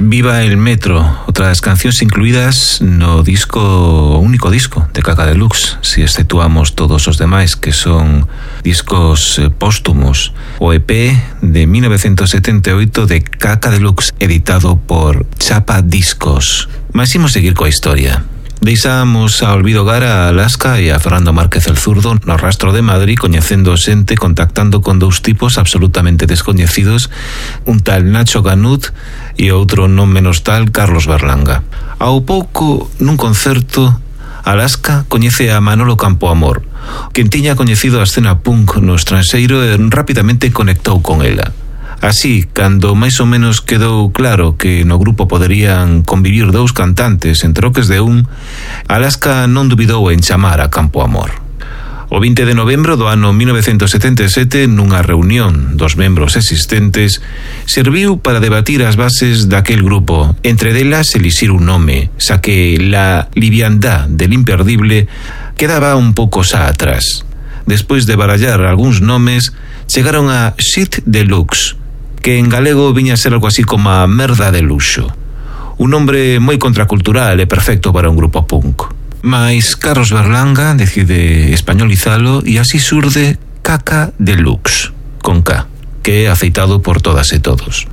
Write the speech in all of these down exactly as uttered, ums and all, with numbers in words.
Viva el Metro, outras cancións incluídas no disco, único disco de Kaka Deluxe, si exceptuamos todos os demais que son discos póstumos. O E P de mil novecientos setenta e oito de Kaka Deluxe, editado por Chapa Discos. Mas imos seguir coa historia. Deixamos a Olvido Gara a Alaska e a Fernando Márquez el Zurdo no rastro de Madrid, coñecendo xente, contactando con dous tipos absolutamente descoñecidos, un tal Nacho Canut e outro non menos tal Carlos Berlanga. Ao pouco, nun concerto, Alaska coñece a Manolo Campoamor, quen tiña coñecido a escena punk no estranxeiro e rapidamente conectou con ela. Así, cando máis ou menos quedou claro que no grupo poderían convivir dous cantantes en troques de un, Alaska non dubidou en chamar a Campoamor. O vinte de novembro do ano mil novecientos setenta e sete, nunha reunión dos membros existentes, serviu para debatir as bases daquel grupo, entre delas elixir un nome, xa que la liviandad del imperdible quedaba un pouco xa atrás. Despois de barallar algúns nomes, chegaron a Shit Deluxe, que en galego viña a ser algo así como a merda de luxo. Un nombre moi contracultural e perfecto para un grupo punk. Mais Carlos Berlanga decide españolizalo e así surde Kaka Deluxe, con K, que é aceitado por todas e todos.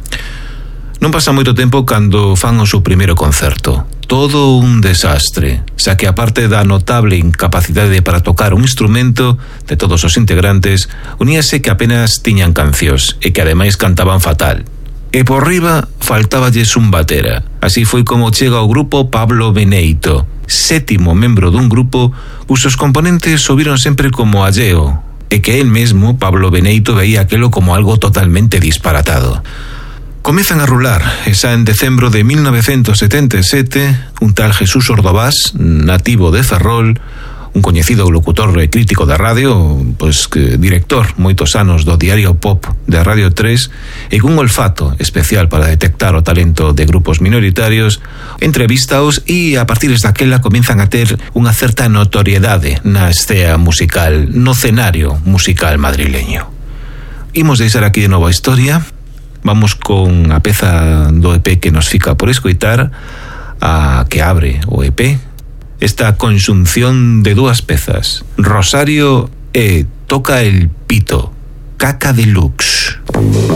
Non pasa moito tempo cando fan o seu primeiro concerto. Todo un desastre, xa que aparte da notable incapacidade para tocar un instrumento de todos os integrantes, uníase que apenas tiñan cancións e que ademais cantaban fatal. E por riba faltáballes un batera. Así foi como chega ao grupo Pablo Beneito, sétimo membro dun grupo cusos componentes o viron sempre como alleo, e que él mesmo, Pablo Beneito, veía aquelo como algo totalmente disparatado. Comezan a rular, e xa en decembro de mil novecientos setenta e sete, un tal Jesús Ordovás, nativo de Ferrol, un coñecido locutor e crítico da radio, pois que director moitos anos do Diario Pop de Radio tres, e cun olfato especial para detectar o talento de grupos minoritarios, entrevistaos e a partir daquela comenzan a ter unha certa notoriedade na escena musical, no cenario musical madrileño. Imos deixar aquí de novo a historia. Vamos con a peza do E P que nos fica por escoitar, a que abre o E P, esta conxunción de dúas pezas, Rosario e Toca el Pito, Kaka Deluxe.